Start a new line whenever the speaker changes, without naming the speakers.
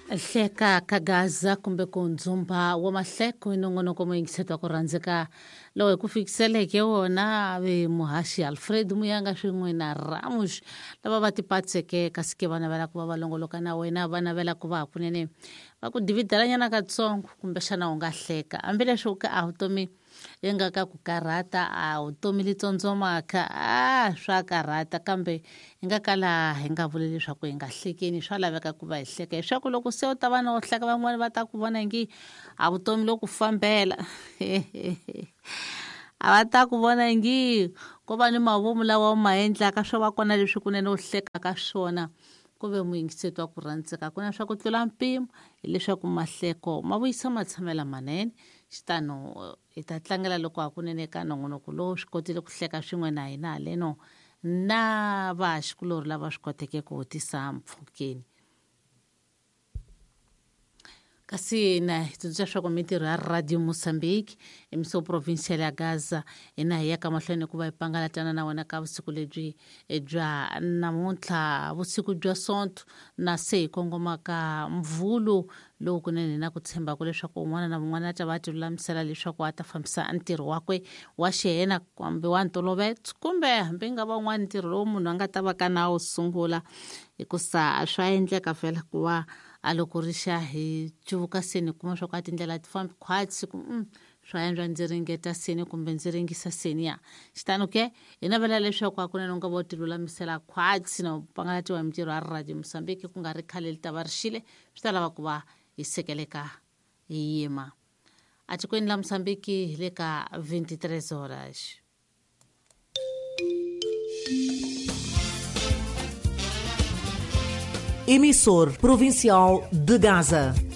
Hleka ka Gaza kumbe ku ndzumba wa mahleko i nongonoko muyingiseti wa ku rhandzeka lowu hi ku fikiseleke wona ve muhaxi Alfred Muyanga swin'we na Ramush lava va tipatseke kasi ke va navela ku va va longoloka na wena, va navela ku va hakunene va ku dividelanyana katsongo kumbexana u nga hleka hambileswi u ka a vutomi yi nga ka ku karhata, a vutomi li tsondzomaka, a swa karhata, kambe hi nga kala hi nga vuli leswaku hi nga hlekeni, swa laveka ku va hi hleka leswaku loko se u ta va na u hleka van'wani va ta ku vona ngi a vutomi lo ku fambela a va ta ku vona ngi ko va ni mavomu lawa u ma endlaka swo va kona leswi kunene u hlekaka swona ku ve muyingiseti wa ku rhandzeka ku na swa ku tlula mpimo hileswaku mahleko ma vuyisa matshamelo manene. Xitano hi ta tlangela loko hakunene ka nongonoko lowu swi kotile ku hleka swin'we na hina haleno na vahaxikulorhi lava swi koteke ku tisa mpfhukeni. Kasi na hi tsundzuxa leswaku mintirho ya Radio Mozambique emiso provincial ya Gaza hina hi ya ka mahlweni ku va hi pangalatana na wena ka vusiku lebyi bya namuntlha, vusiku bya Sonto na se hi kongoma ka Mvhulu lowu kunene na ku tshembaka leswaku un'wana na un'wana a ta va a tilulamisela leswaku a ta fambisa ntirho wakwe wa xihena kumbe wa ntolovelo kumbe hambi nga va un'wana ntirho lowu munhu a nga ta va ka na wu sungula, hikusa swa endleka vhela ku va a loko ri xa hi cuvuka seni kuma swa ku a tindlela ti fambi khwatsi ku swa endla ndzi ringeta seni kumbe ndzi ringisa seni ya xitano ke hi navela leswaku hakunene u nga va u tilulamisela khwatsi na u pangalatiwa hi mintirho ya Radio Mozambique ku nga ri khale li ta va ri xile swi ta lava ku va hi sekeleka hi yima atikweni la Mozambique hi le ka 23 horas.
Emissor Provincial de Gaza.